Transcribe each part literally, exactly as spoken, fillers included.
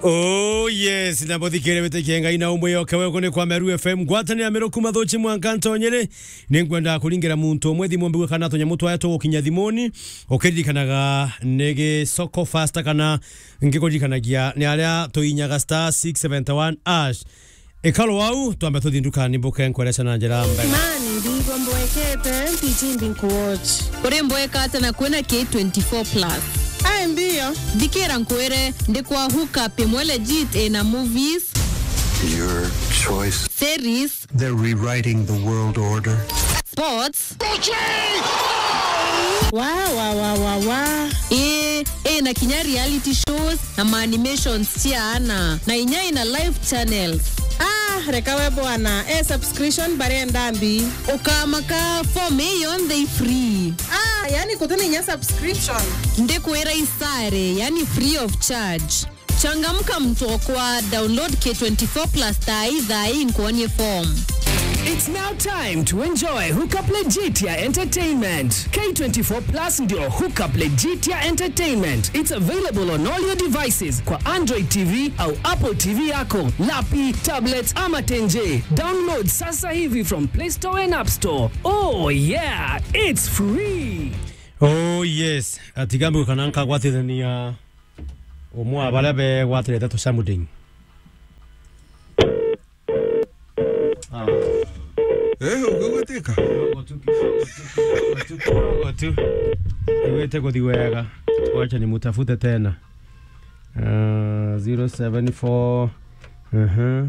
Oh yes, na muthikire witikie Ngai na umwe yoke wewe ni kwa Meru F M. Ngwatanira Meru kuma Thuchi mwanka Ntonyere. Ni ngwenda kuringira muntu umwe thimu mbigwe kana tunyamu twae tugukinya thimuni. Ukiririkanaga ni Gisoko Fasta kana ngikuririkanagia ni aria tuinyaga star six seventy one hash. Ikaro wau, twambe tuthi ndukani mbuke nkwereca na njira mbega. Mani, ndingo mbwekete, mpiji mbinkuwatch. Uri mbweka ata na kwina K twenty-four plus? Ai, mbio. Thikira nkwire, ndi kwa hook up imwe legit ina movies. Your choice. Series. They're rewriting the world order. Sports. Wa, wa, wa, wa, wa. Ii, ii, na kinya reality shows na ma animations cia ana, na inya ina live channels. Ah, reka we bwana, e subscription barenda mbi. Ukamaka, form ii yonthe i free. Ah, yani kutina inya subscription. Ndikwira isare, yani free of charge. Changamka mtu okwa, download K twenty-four plus thaa ii, thaa ii nkuonie form. It's now time to enjoy Hookup Legit ya Entertainment. K twenty-four plus ndio Hookup Legit ya Entertainment. It's available on all your devices kwa Android T V au Apple T V yako, lapi, tablets ama tenje. Download sasa hivi from Play Store and App Store. Oh yeah, it's free. Oh yes, atigambi kana nkagwatithania. Umwe wa baria begwatirite tucamuding. Ah. Eh, ugugweteka? Kidogo tu, kidogo tu, kidogo tu, kidogo tu. Iwite kuthi wega. Wacha nimutafute tena. Ah, zero seven four. Aha.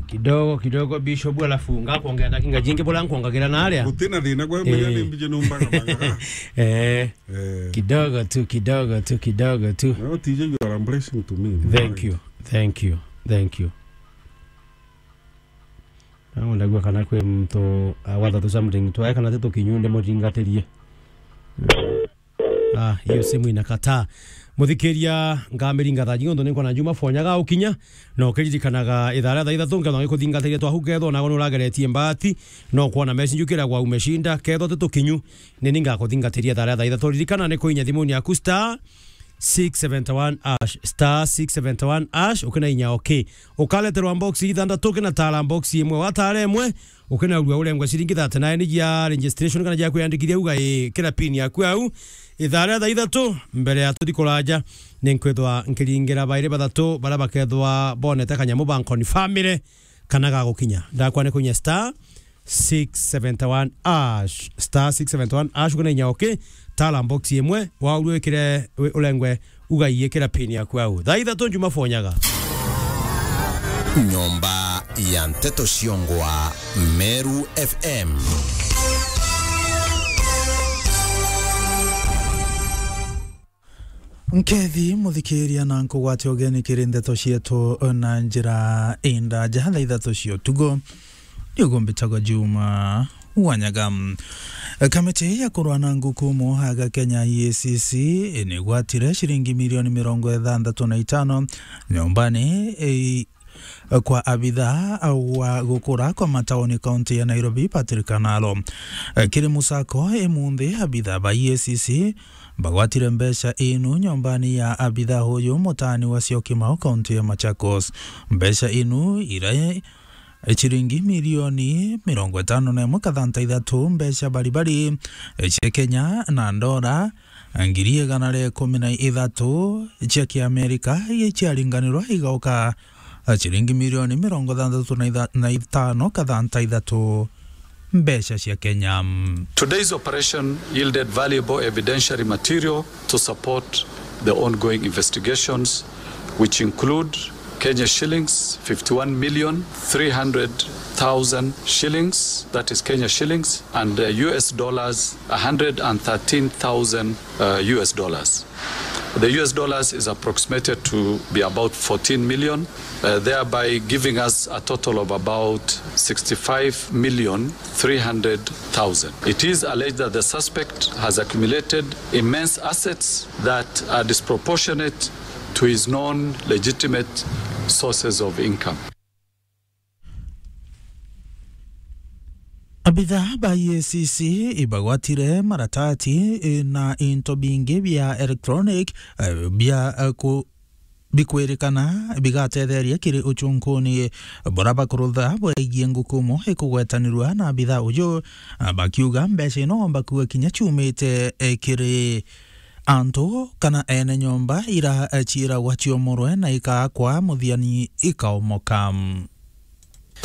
Kidogo, kidogo, Bishop, alafu ngakwongera ndakika jingi bura nkwongagira na aria. Gutina thina gwe, menya ni mbiji numbaga baga. Eh. Eh. Kidogo tu, kidogo tu, kidogo tu. No, T J, you are a blessing to me. Thank you, thank you, thank you. Nawe ndagua kana kwi muntu, ah, watha tu something, twae kana ti tukinyu, ndi muthingatirie. Ah, hiyo simu inakataa. Muthikiria, ngamiringa thaa jingi, untu ninkona Juma Fonyaga ukinya, na ukiririkanaga ithaa ria thaa ithatu, nkethwa ngikuthingatiria twahu, kethwa nawe nurageretie mbaati, no kwona message ukiragwa umeshinda, kethwa ti tukinyu, ni ni ngakuthingatiria ithaa ria thaa ithatu. Ririkana ni kuinya thimuni yaku star six seventy one hash, star six seventy one hash, ukina inya okay. Ukaleterwa box ithanthatu, ukina tara box imwe, watara imwe, ukinaurua urengwe ciringi thirty nine cia registration kana cia kwiyandikithia, uga ii kira pin yaku au. Ithaa ria thaa ithatu, mbere ya tuthi kuraja, ni nkwithwa nkiringira bairi bathatu baria bakethwa bonete kanyamu bankonfamire kana gagukinya. Ndakwa ni kuinya star six seventy one hash, star six seventy one hash, ukina inya okay, tara box imwe, waurua wikire, wi-, urengwe uga ii kira pin yaku au. Thaa ithatu Juma Fonyaga. Nyomba ya nteto ciongwa Meru F M. Nkethi muthikiria na nkugwate ugeni kiri ndeto cietu na njira indaja. Thaa ithatu cia utugo. Niguo mbitagwa Juma Wanyaga. Kamiti ya kurwa na ngukumo aga Kenya, E A C C, nigwatire ciringi milioni mirongo ithanthatu na itano nyombani, eh, kwa abitha wa gukura kwa matauni kaunti ya Nairobi, Patrick Analo. Kiri musako imunthi, abitha ba E A C C bagwatire mbeca inu nyombani ya abitha uyu mutani wa Syokimau, kaunti ya Machakos. Mbeca inu ira ciringi milioni mirongo itano na imwe kathanta ithatu mbeca baribari cia Kenya na ndora ngiri igana ria ikumi na ithatu cia Kiamerika, iria ciaringanirwa igauka ciringi milioni mirongo ithanthatu na itha-, na itano kathanta ithatu mbeca cia Kenya. Today's operation yielded valuable evidentiary material to support the ongoing investigations, which include Kenya shillings fifty-one million three hundred thousand shillings, that is Kenya shillings, and, uh, U S dollars a hundred and thirteen thousand, uh, U S dollars. The U S dollars is approximated to be about fourteen million, uh, thereby giving us a total of about sixty-five million three hundred thousand. It is alleged that the suspect has accumulated immense assets that are disproportionate to his known legitimate sources of income. Abithaa ba E A C C ibagwatire maratati, eh, na into bingi bia electronic, eh, bia, eh, ku-, bikwirikana bigatetheria kiri uchunkuni bura bakurutha bwegie ngukumo ikugwetanirua na abithaa uju, ah, bakiuga mbeca ino bakuga kinya ciumite, eh, kiri antu kana ene nyomba ira, eh, ciiragwa ciomorwe na ikaakwa muthiani ikaomoka.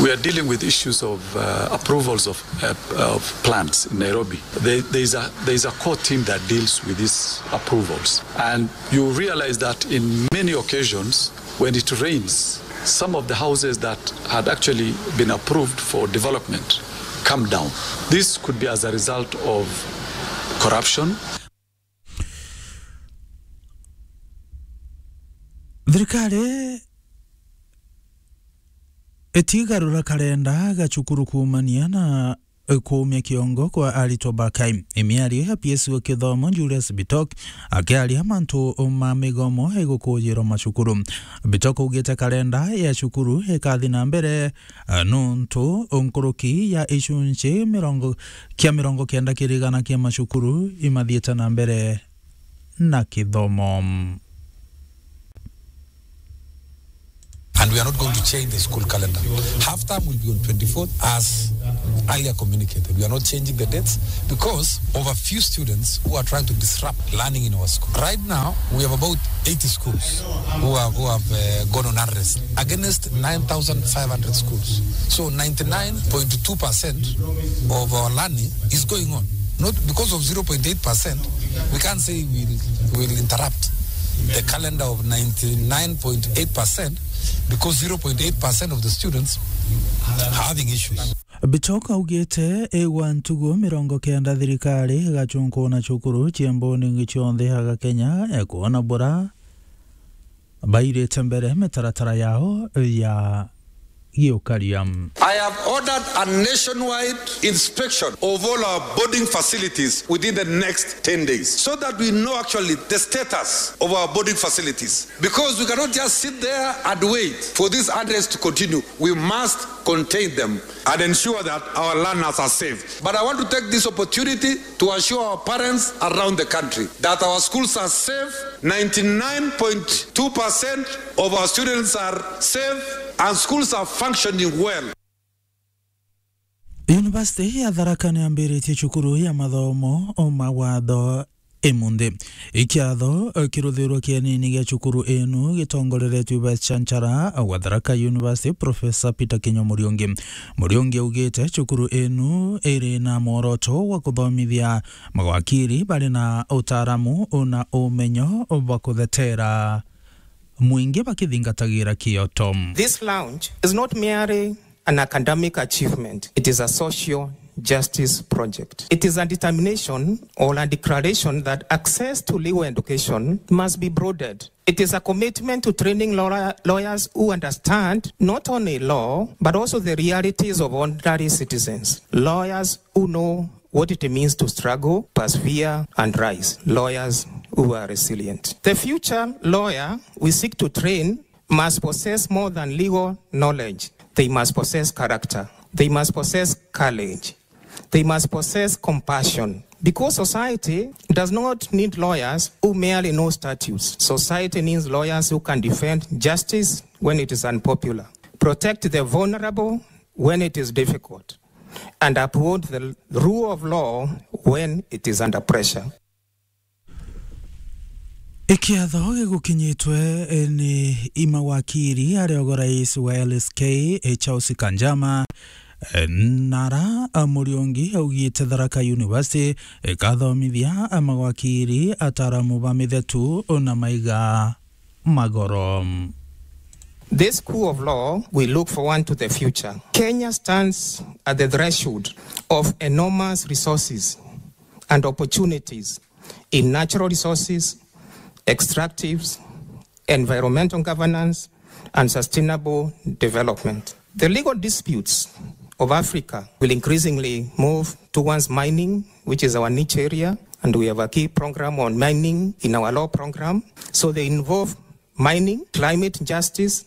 We are dealing with issues of, uh, approvals of, uh, of plans in Nairobi. There, there is a, there is a core team that deals with these approvals. And you realize that in many occasions, when it rains, some of the houses that had actually been approved for development come down. This could be as a result of corruption. Thirikari itigarura karenda ga cukuru kuumania na kuumia kiongo kwa aritwa ba kai. Miario ya P S wa kithomo Julius Bitok akiaria mantu ma migomo igukujirwa macukuru. Bitok augite karenda ya cukuru ikathi na mbere, eh, nuntu nkuruki ya icunci mirongo, kia mirongo kenda kiri igana kia macukuru imathiite na mbere na kithomo. And we are not going to change the school calendar. Half term will be on twenty-fourth as earlier communicated. We are not changing the dates because of a few students who are trying to disrupt learning in our school. Right now, we have about eighty schools who have, who have, uh, gone on unrest against nine thousand five hundred schools. So ninety-nine point two percent of our learning is going on. Not because of zero point eight percent, we can't say we'll, we'll interrupt the calendar of ninety-nine point eight percent because zero point eight percent of the students are having issues. Bitok augite igwa ntugu mirongo kenda thirikari igacunkuuna cukuru cia mbunningi cionthe aga Kenya, e kwona bura bairite mbere mitaratara yao ya giukaria. I have ordered a nationwide inspection of all our boarding facilities within the next ten days, so that we know actually the status of our boarding facilities, because we cannot just sit there and wait for this unrest to continue. We must contain them and ensure that our learners are safe. But I want to take this opportunity to assure our parents around the country that our schools are safe, ninety-nine point two percent of our students are safe, and schools are functioning well. University ya Tharaka niambiritie cukuru ya mathomo ma watho imunthi. Ikiatho, eh, kiruthirwe kienini gia cukuru inu gitongoreretue Vice Chancellor wa Tharaka University, Professor Peter Kinyo Muriungi. Muriungi augite cukuru inu iri na mworoto wa kuthomithia mawakiri bari na utaaramu na umenyo bwa kuthetera mwingi bakithingatagira kioto. This launch is not merely an academic achievement. It is a social justice project. It is a determination or a declaration that access to legal education must be broadened. It is a commitment to training lawyer-, lawyers who understand not only law, but also the realities of ordinary citizens. Lawyers who know what it means to struggle, persevere, and rise. Lawyers who are resilient. The future lawyer we seek to train must possess more than legal knowledge. They must possess character. They must possess courage. They must possess compassion. Because society does not need lawyers who merely know statutes. Society needs lawyers who can defend justice when it is unpopular, protect the vulnerable when it is difficult, and uphold the rule of law when it is under pressure. Ikiatho gigukinyitwe, eh, ni imawakiri aria ogo rais wa L S K, eh, Charles Kanjama, eh, nara, eh, Muriungi augite Tharaka University ikathomithia, eh, mawakiri ataaramu ba mithetu na maiga magoro. This school of law, we look forward to the future. Kenya stands at the threshold of enormous resources and opportunities in natural resources, extractives, environmental governance, and sustainable development. The legal disputes of Africa will increasingly move towards mining, which is our niche area, and we have a key program on mining in our law program. So they involve mining, climate justice,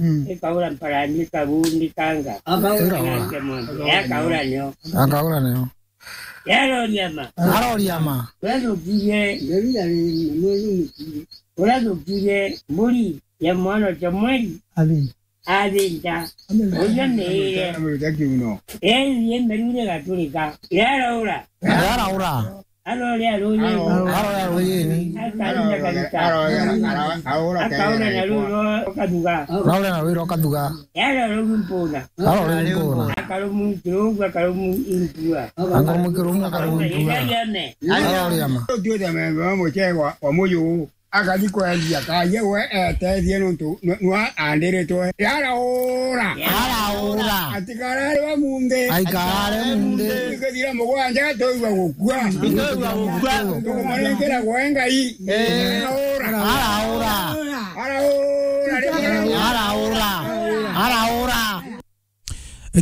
Mm. Ikaura mparani, kabundi, kanga. Akaura. Ira wa. Nake mwangi. Akaura nio. Akaura nio. Aroriama. Aroriama. Uria thukirie, uria thukirie mburi ya mwana Samueli. Athinta. Athinta. Uria meire. Ethie merure gaturika. Araura. Araura. Arore aruyini. Arore aruyini. Akarura kabisa. Akaura na rwiro kathuga. Araura na rwiro kathuga. Arore rumpuna. Arore rumpuna. Akarumu kirugu, akarumu impua. Akarumu kirugu, akarumu impua. Aroriama. Aroriama. Tuite membe wa mucee wa, wa muyu. Akathi kwendia kaye we etethie nontu nwa andiritwe. Araura. Araura. Atikarare wa munthi. Aikarare munthi. Ikithira mugwanja tuigua gukua. Tuigua gukua. Tukumanengera gwe Ngai. Eh. Araura. Araura. Araura. Araura. Araura.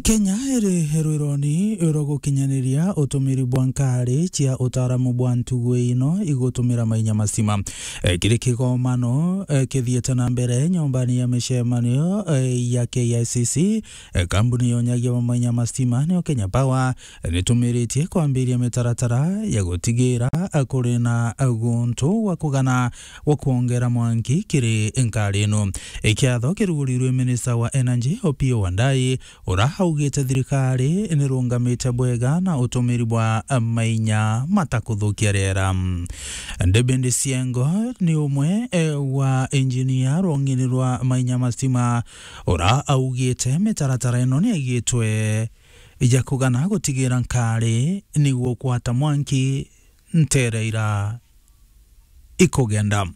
Kenya iri rwironi rwa gukinyaniria utumiri bwa nkari cia utaaramu bwa ntugu ino igutumira mainya mastima. Eh, kiri kigomano, eh, kithiite na mbere nyombani ya micemanio, eh, ya K I C C, eh, kambuni ya unyagia wa mainya mastima niyo Kenya Power, eh, nitumiritie kwambiria mitaratara ya gutigira, eh, kuri na, eh, guntu gwa kugana gwa kwongera mwanki kiri nkari ino. Ikiatho kirugurirwe minista wa energy Opiyo Wandayi, ura augite thirikari nirungamite bwega na utumiri bwa mainya matakuthukia riera. David Siengo ni umwe, eh, wa engineer rwong'ini rwa mainya mastima, ura augite mitaratara ino niigitwe ya kugana gutigira nkari niguo kwata mwanki nteere ira ikugenda.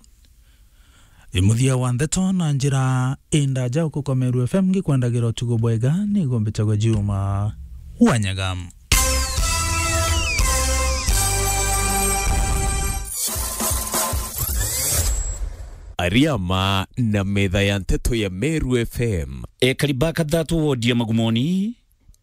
I muthia wa ndeto na njira indaja ukuka Meru F M ngikwendagira utugo bwega, nigo mbitagwa Juma Wanyaga. Ariama na metha ya nteto ya Meru F M. Ekari ba kathatu wodi ya Magumoni,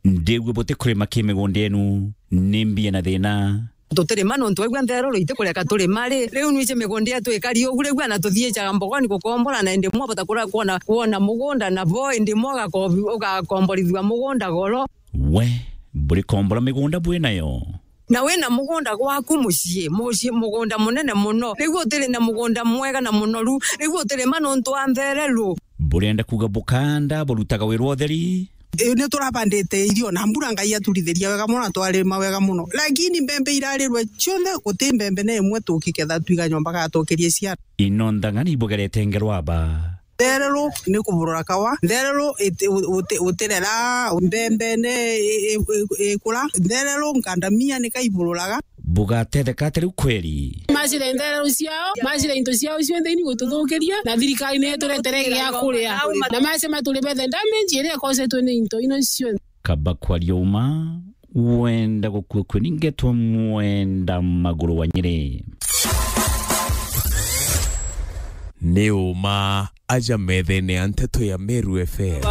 ndiigua butikurima ki migunda yenu, ni mbia na thina. Tutirima nontu waigua ntheruru itikureka turima ri. Riu nwiji migunda yetu ikari ugu, riu ana tuthiijaga mbogoni gukombora, na indi mwa bata kura kwona, kwona mugunda na bo, indi mwa ugakombi-, ugakomborithua mugunda goro. We, burikombora migunda bwi nayo? Na wina mugunda gwaku mucii, mucii, mugunda munene muno, riu utiri na mugunda mwega na munoru, riu utirima nontu wa ntheruru. Burenda kuuga bukanda burutaga wira wa utheri? Ii, ni turabandite irio na mbura Ngai aturithiria wega muno na twarima wega muno. Lakini mbembe irarirwe cionthe, guti mbembe na imwe tukiketha twiga nyomba gatukirie ciana. Ino nthang'ani ibugerete ngerwaba. Ntheruru ni kuburura kawa. Ntheruru iti-, uti-, utirera mbembe ni i-, i-, i-, ikura. Ntheruru ngandamia ni kaibururaga. Bugatetheka ati riu kweri? Macira ntheruru ciao, macira into ciao cionthe ini gututhukiria, na thirikari ni ituretere gia kuria. Na macema turi bethe damage iria ikosetwe ni into ino cionthe. Kaba kwaria uma, wenda gukua kwe ningetwa mwenda maguru wa Nyeri. Ni uma aja methene ya nteto ya Meru F M.